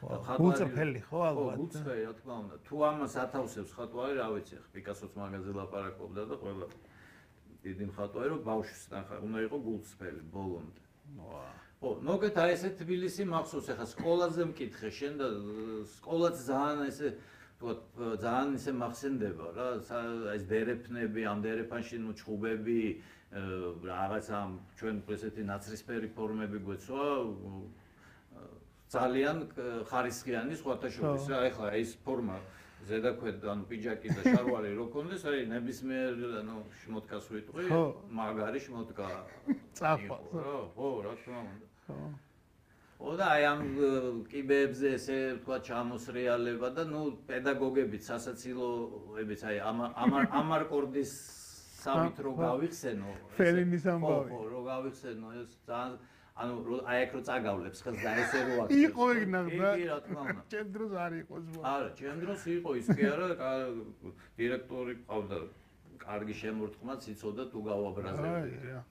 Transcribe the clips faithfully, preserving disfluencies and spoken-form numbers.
გულწრფელი ხო ალბათ. ხო, გულწრფელი რა თქმა უნდა. თუ ამას ათავსებს ხატვარი, რა ვიცი, ხა პიკასოს მაგაზე ლაპარაკობდა და ყველა დიდი მხატვარი რომ ბავშვს ნახა, უნდა იყო გულწრფელი ბოლომდე. ხო, მოგეთ აი ესე თბილისი მახსოვს, ახლა სკოლაზე მკითხე, შენ და სკოლაც ძალიან ესე ვთქვათ, ძალიან ისე მახსენდება რა, ეს დერეფნები, ამ დერეფანში ნუ ჩხუბები, რაღაცა ჩვენ ესეთი ნაცრისფერი ფორმები გვეცვა, ძალიან ხარისხიანი სხვათა შორის რა, ეხლა ეს ფორმა ზედაქვეთ ანუ პიჯაკი და შარვარი რო კონდეს, აი ნებისმიერ ანუ შმოტკას ვიტყვი, მაგარი შმოტკა. წახვა. ხო, რა თქმა უნდა. ხო. ო და აი ამ კიბეებზე ესე ვთქვათ ჩამოსრიალება და ნუ პედაგოგებიც სასაცილოებიც აი ამ ამარკორდის სამით რო გავიხსენო ფელინის ამბავი ხო რო გავიხსენო ეს ძალიან ანუ აი აქ რო წაგავლებს ხელს და ესე რო აქ იყო ეგნახ და კი რა თქმა უნდა ჩემ დროს არ იყოს არა ჩემ დროს იყო ის კი არა დირექტორი ყავდა კარგი შემორტყმაც იცოდა თუ გავაბრაზებდი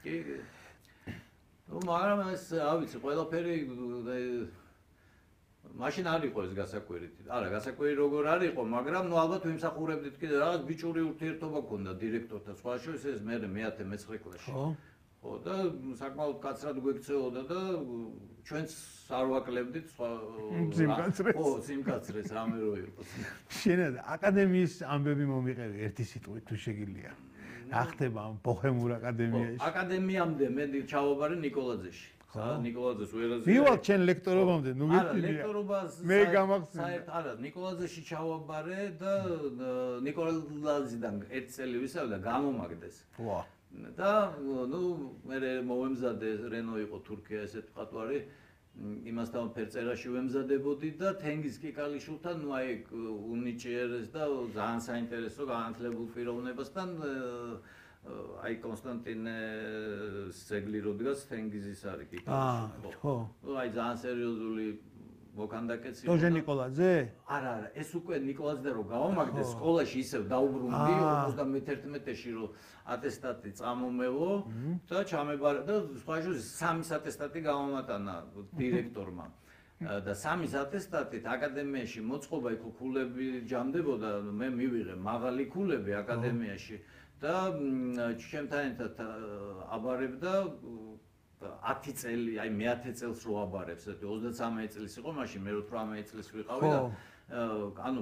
კი კი ну, მაგრამ ეს, რა ვიცი, ყველაფერი მაშინ არ იყო ეს გასაკვირით. არა, გასაკვირი როგორ არ იყო, მაგრამ ნუ ალბათ ვიმსახურებდით კიდე რაღაც ბიჭური ურთიერთობა ქონდა დირექტორთან. სხვა შორის ეს მე მეათე მეცხრე კლასში. ხო. ხო, და საკმაოდ კაცრად გვექცეოდა და ჩვენც არ ვაკლებდით სხვა სიმკაცრეს. ხო, სიმკაცრეს რამე რო იყოს. შენად აკადემიის ამბები მომიყევი ერთი სიტყვით თუ შეგიძლია. ახტება ამ ბოჰემურ აკადემიაში. აკადემიამდე მე ჩავაბარე ნიკოლაძეში. ხა ნიკოლაძეს ვერაზე. მივალ ჩვენ ლექტორობამდე, ნუ გეტყვი. არა, ლექტორობას მე გამახსენე. საერთ არა, ნიკოლაძეში ჩავაბარე და ნიკოლაძიდან ერთ წელი ვისავდა გამომაგდეს. ვა. და ნუ მე მოვემზადე რენო იყო თურქია ესეთ მხატვარი. იმასთან ფერწერაში ვემზადებოდი და თენგიზ კიკალიშვილთან ნუ აი უნიჭიერეს და ძალიან საინტერესო განათლებულ პიროვნებასთან აი კონსტანტინე ზეგლი რო დგას თენგიზის არის კიკალიშვილი ხო აი ძალიან სერიოზული მოქანდაკეცი დოჟე ნიკოლაძე არა არა ეს უკვე ნიკოლაძე რო გავამაგდეს სკოლაში ისევ დაუბრუნდი ოცდამეთერთმეტეში რო ატესტატი წამომევლო და ჩამებარა და სხვა შორის სამი ატესტატი გამომატანა დირექტორმა და სამი ატესტატით აკადემიაში მოწყობა იქ ქულები ჯამდებოდა მე მივიღე მაღალი ქულები აკადემიაში და ჩემთან ერთად აბარებდა ათი წელი, აი მეათე წელს რო აბარებს, ეტი ოცდათრამეტი წლის იყო, მაშინ მე ოცდათრამეტი წლის ვიყავი და ანუ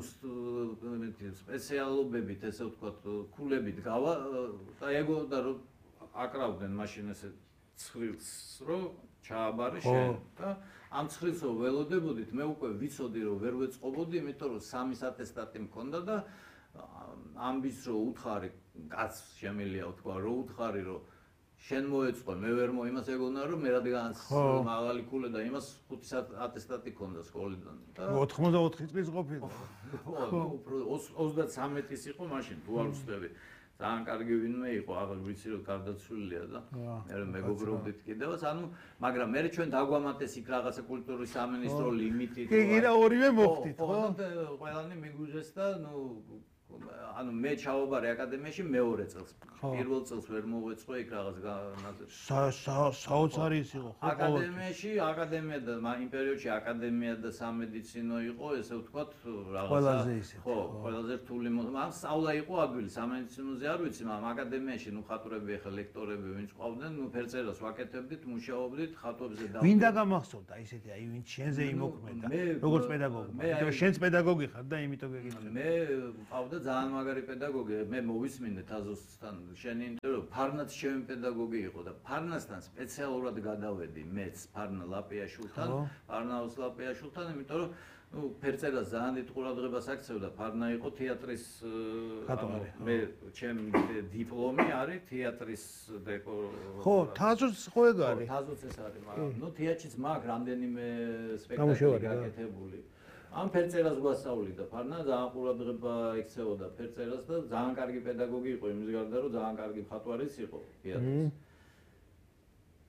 სპეციალობებით ესე ვთქვათ, ქულებით გავა და ეგო და რო აკრავდნენ მაშინ ესე ცხრილს რო ჩააბარე შენ და ამ ცხრილს რო ველოდებოდით, მე უკვე ვიცოდი რომ ვერ ვეწყობოდი, იმიტომ რომ სამი ატესტატი მქონდა და ამბის რო უთხარი, კაც შემიძლია ვთქვა, რო უთხარი რომ შენ მოეწყო, მე ვერ მო იმას ეგონა რომ მე რადგანაც მაღალი ქულე და იმას ხუთი ატესტატი ქონდა სკოლიდან. ოცდაოთხი წლის ყოფილი. ოცდათრამეტის იყო მაშინ, თუ არ ვცდები. ძალიან კარგი ვინმე იყო, აღარ ვიცი რომ გარდაცვლილია და მე მეგობრობდით კიდევაც, ანუ მაგრამ მე ჩვენ დაგვამატეს იქ რაღაცა კულტურის სამინისტრო ლიმიტით. კი, კი და ორივე მოხდით, ხო? და ყველანი მიგვიძეს და ნუ ანუ მე ჩავაბარე აკადემიაში მეორე წელს. პირველ წელს ვერ მოვეწყო იქ რაღაც განაზრება. საოცარი ის იყო ხო? აკადემიაში, აკადემია და იმ პერიოდში აკადემია და სამედიცინო იყო, ესე ვთქვათ, რაღაცა. ყველაზე ისე. ხო, ყველაზე რთული ამ სწავლა იყო ადვილი, სამედიცინოზე არ ვიცი, მაგრამ აკადემიაში ნუ ხატრები ახლა ლექტორები ვინც ყავდნენ, ნუ ფერწერას ვაკეთებდით, მუშაობდით ხატვებზე და ვინ დაგამახსოვდა ისეთი, აი ვინც შენზე იმოქმედა, როგორც პედაგოგი. იმიტომ შენც პედაგოგი ხარ და იმიტომ გეკითხე. მე ყავდა ძალიან მაგარი პედაგოგი, მე მოვისმინე თაზოსთან შენი ინტერვიუ, ფარნაც ჩემი პედაგოგი იყო და ფარნასთან სპეციალურად გადავედი მეც ფარნა ლაპიაშვილთან, ფარნაოს ლაპიაშვილთან, იმიტომ რომ ნუ ფერწერას ძალიან დიდ ყურადღებას აქცევდა, ფარნა იყო თეატრის მე ჩემი დიპლომი არის თეატრის ხო, თაზოც ხო ეგ არის. თაზოც ეს არის, მაგრამ ნუ თეატრიც მაგ რამდენიმე სპექტაკლი გაკეთებული. ამ ფერწერას გვასწავლიდა ფარნა, ძალიან ყურადღება ექცეოდა ფერწერას და ძალიან კარგი პედაგოგი იყო იმის გარდა, რომ ძალიან კარგი მხატვარიც იყო თეატრის.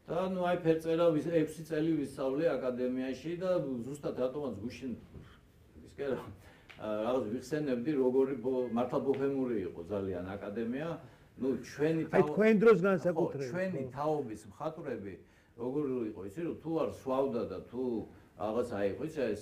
და ნუ აი ფერწერა ექვსი წელი ვისწავლე აკადემიაში და ზუსტად რატომაც გუშინ ის კი რაღაც ვიხსენებდი, როგორი მართლა ბოჰემური იყო ძალიან აკადემია. ნუ ჩვენი აი თქვენ დროს განსაკუთრებით ჩვენი თაობის მხატვრები როგორი იყო იცი რომ თუ არ სვავდა და თუ რაღაც აი ხო იცი ეს